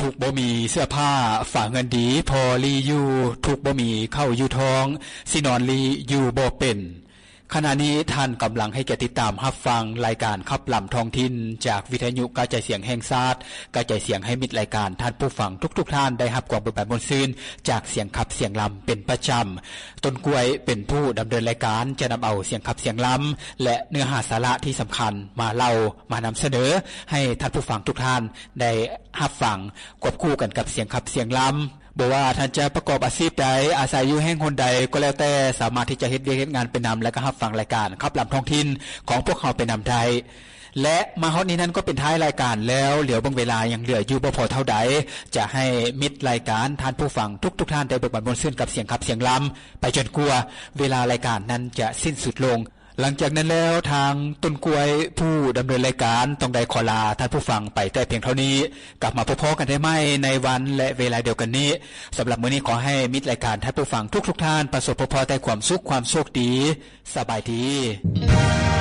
ທຸກບໍ່ມີເສື້ອຜ້າ ຝາກເງິນດີພໍລີຢູ່ ທຸກບໍ່ມີເຂົ້າຢູ່ທ້ອງ ຊິນອນລີຢູ່ບໍ່ເປັນ. ຂະນະນີ້ທ່ານກຳລັງໃຫ້ກຽດຕິດຕາມຮັບຟັງລາຍການຂັບລຳທ້ອງຖິ່ນ ຈາກວິທະຍຸກະຈາຍສຽງແຫ່ງຊາດ, ກະຈາຍສຽງໃຫ້ມິດລາຍການ, ທ່ານຜູ້ຟັງທຸກໆທ່ານໄດ້ຮັບຄວາມເບີກບານມ່ວນຊື່ນຈາກສຽງຂັບສຽງລຳເປັນປະຈຳ. ຕົ້ນກ້ວຍເປັນຜູ້ດຳເນີນລາຍການ ຈະນຳເອົາສຽງຂັບສຽງລຳ ແລະ ເນື້ອຫາສາລະທີ່ສຳຄັນມາເລົ່າ ມານຳສະເໜີໃຫ້ທ່ານຜູ້ຟັງທຸກທ່ານໄດ້ຮັບຟັງ ຄວບຄູ່ກັນກັບສຽງຂັບສຽງລຳ. ບໍ່ວ່າທ່ານຈະປະກອບອາຊີບໃດ, ອາໄສຢູ່ແຫ່ງຫົນໃດກໍແລ້ວແຕ່, ສາມາດທີ່ຈະເຮັດວຽກເຮັດງານໄປນຳ ແລະ ກໍຮັບຟັງລາຍການຂັບລຳທ້ອງຖິ່ນຂອງພວກເຮົາໄປນຳໄດ້. ແລະ ມາຮອດນີ້ນັ້ນກໍເປັນທ້າຍລາຍການແລ້ວ, ຫຼຽວເບິ່ງເວລາຍັງເຫຼືອຢູ່ບໍ່ພໍເທົ່າໃດ, ຈະໃຫ້ມິດລາຍການ, ທ່ານຜູ້ຟັງທຸກໆທ່ານໄດ້ເບີກບານມ່ວນຊື່ນກັບສຽງຂັບສຽງລຳໄປຈົນກວ່າເວລາລາຍການນັ້ນຈະສິ້ນສຸດລົງ. ຫຼັງຈາກນັ້ນແລ້ວ, ທາງຕົ້ນກ້ວຍຜູ້ດຳເນີນລາຍການຕ້ອງໄດ້ຂໍລາທ່ານຜູ້ຟັງໄປແຕ່ພຽງເທົ່ານີ້. ກັບມາພົບພໍ້ກັນໄດ້ໃໝ່ໃນວັນ ແລະ ເວລາດຽວກັນນີ້. ສຳລັບມື້ນີ້ຂໍໃຫ້ມິດລາຍການ, ທ່ານຜູ້ຟັງທຸກໆທ່ານ ປະສົບພົບພໍ້ແຕ່ຄວາມສຸກ, ຄວາມໂຊກດີ. ສະບາຍດີ.